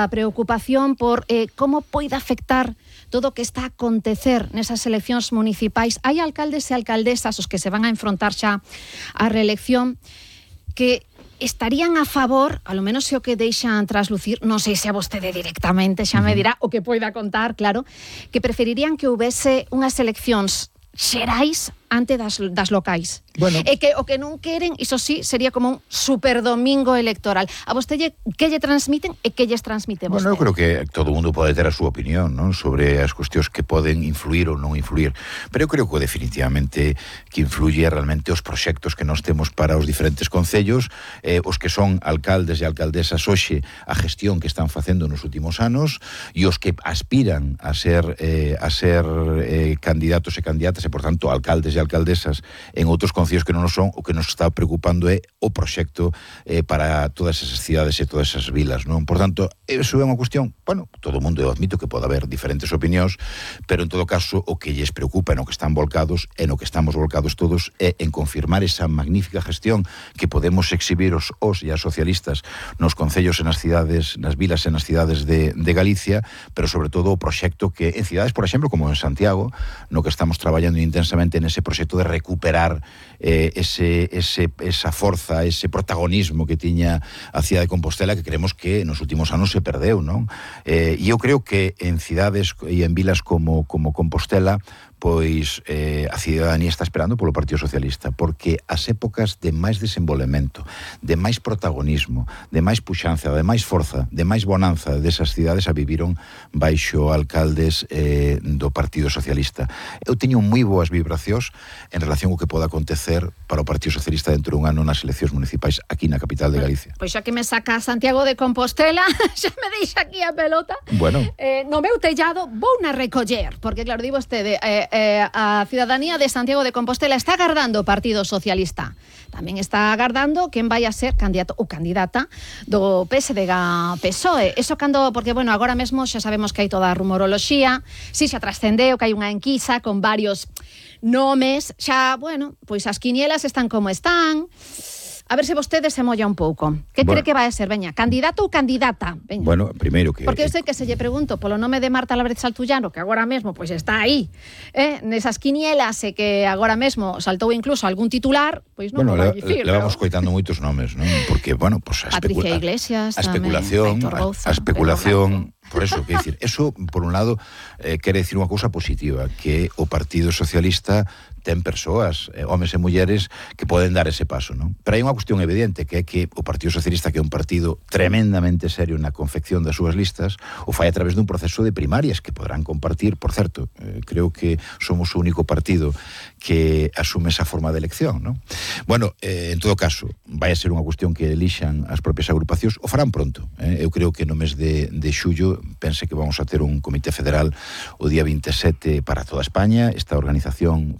esa preocupación por como poida afectar todo o que está a acontecer nesas eleccións municipais. Hai alcaldes e alcaldesas os que se van a enfrontar xa á reelección que estarían a favor, a lo menos se o que deixan traslucir, non sei se a vostede directamente xa me dirá o que poida contar, claro, que preferirían que houvese unhas eleccións xerais ante das locais. Bueno. E que o que non queren, iso sí, sería como un superdomingo electoral. A vostede que lle transmiten e que lles transmite vostede? Bueno, eu creo que todo o mundo pode ter a súa opinión, non, sobre as cuestións que poden influir ou non influir, pero eu creo que definitivamente que influye realmente os proxectos que nós temos para os diferentes concellos, os que son alcaldes e alcaldesas hoxe, a gestión que están facendo nos últimos anos, e os que aspiran a ser candidatos e candidatas e, por tanto, alcaldes e alcaldesas en outros concellos que non son. O que nos está preocupando é o proxecto para todas esas cidades e todas esas vilas, non? Por tanto, eso é unha cuestión, bueno, todo o mundo, eu admito que pode haber diferentes opinións, pero en todo caso o que lles preocupa, no que están volcados e no que estamos volcados todos, é en confirmar esa magnífica gestión que podemos exhibir os e as socialistas nos concellos e nas cidades, nas vilas e nas cidades de Galicia, pero sobre todo o proxecto que en cidades, por exemplo, como en Santiago, no que estamos traballando intensamente nese proxecto de recuperar esa forza, ese protagonismo que tiña a cidade de Compostela, que creemos que nos últimos anos se perdeu, non? E eu creo que en cidades e en vilas como Compostela, pois a cidadanía está esperando polo Partido Socialista, porque as épocas de máis desenvolvemento, de máis protagonismo, de máis puxanza, de máis forza, de máis bonanza desas cidades a viviron baixo alcaldes do Partido Socialista. Eu teño moi boas vibracións en relación ao que poda acontecer para o Partido Socialista dentro dun ano nas eleccións municipais aquí na capital de Galicia. Pois xa que me saca Santiago de Compostela, xa me deixa aquí a pelota. Bueno. No meu tellado vou na recoller, porque claro, digo vostede, a cidadanía de Santiago de Compostela está agardando o Partido Socialista. Tamén está agardando quen vai a ser candidato ou candidata do PSDG-PSOE. Eso cando, porque bueno, agora mesmo xa sabemos que hai toda a rumoroloxía, si xa trascendeu que hai unha enquisa con varios nomes, xa, bueno, pois as quinielas están como están. A ver se vostede se molla un pouco. Que cree que vai a ser? Veña, candidato ou candidata? Veña. Bueno, primeiro que... Porque eu sei que se lle pregunto polo nome de Marta Álvarez Saltullano, que agora mesmo pois está aí, nesas quinielas, e que agora mesmo saltou incluso algún titular, pois non bueno, vai dicir. Levamos coitando moitos nomes, non? Porque, bueno, pues Patricia Iglesias, a especulación, Rouza, a especulación, por eso, que decir, eso, por un lado, quere decir unha cousa positiva, que o Partido Socialista ten persoas, homes e mulleres, que poden dar ese paso, non? Pero hai unha cuestión evidente, que é que o Partido Socialista, que é un partido tremendamente serio na confección das súas listas, o fai a través dun proceso de primarias que poderán compartir, por certo, creo que somos o único partido que asume esa forma de elección, non? Bueno, en todo caso, vai a ser unha cuestión que elixan as propias agrupacións, o farán pronto. Eu creo que no mes de xullo, pense que vamos a ter un comité federal o día 27 para toda España. Esta organización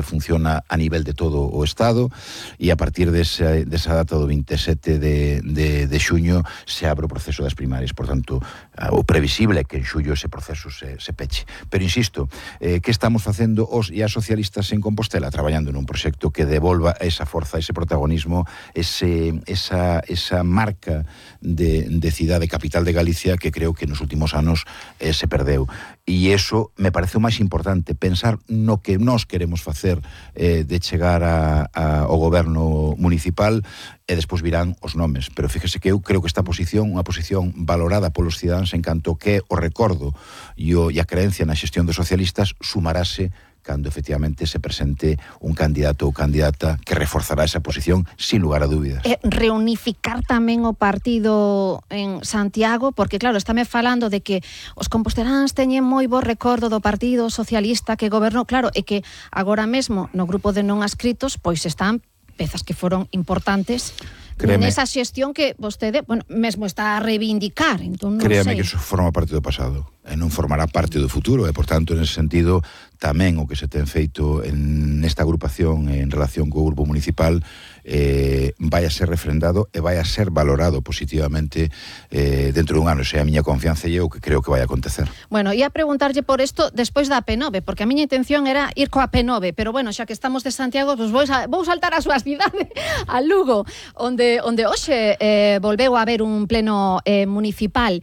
funciona a nivel de todo o Estado, e a partir desa data do 27 de xuño se abre o proceso das primarias. Por tanto, o previsible é que en xullo ese proceso se peche. Pero insisto, que estamos facendo os e as socialistas en Compostela? Traballando nun proxecto que devolva esa forza, ese protagonismo, esa marca de cidade capital de Galicia que creo que nos últimos anos se perdeu. E iso me parece o máis importante, pensar no que nós queremos facer de chegar ao goberno municipal, e despois virán os nomes. Pero fíjese que eu creo que esta posición, unha posición valorada polos cidadáns en canto que o recordo e a creencia na xestión dos socialistas, sumarase cando efectivamente se presente un candidato ou candidata que reforzará esa posición sin lugar a dúbidas. Reunificar tamén o partido en Santiago, porque claro, estáme falando de que os composteláns teñen moi bo recordo do Partido Socialista que gobernou, claro, e que agora mesmo no grupo de non adscritos pois están pezas que foron importantes nesa xestión que vostede, bueno, mesmo está a reivindicar. Entón, non Créame sei. que eso forma parte do pasado e non formará parte do futuro, e, por tanto, en ese sentido, tamén o que se ten feito nesta agrupación en relación co grupo municipal vai a ser refrendado e vai a ser valorado positivamente dentro dun ano. Esa é a miña confianza e é o que creo que vai acontecer. Bueno, ia preguntarlle por isto despois da P9, porque a miña intención era ir coa P9, pero bueno, xa que estamos de Santiago, pues vou saltar a súa cidade, a Lugo, onde hoxe volveu a haber un pleno municipal.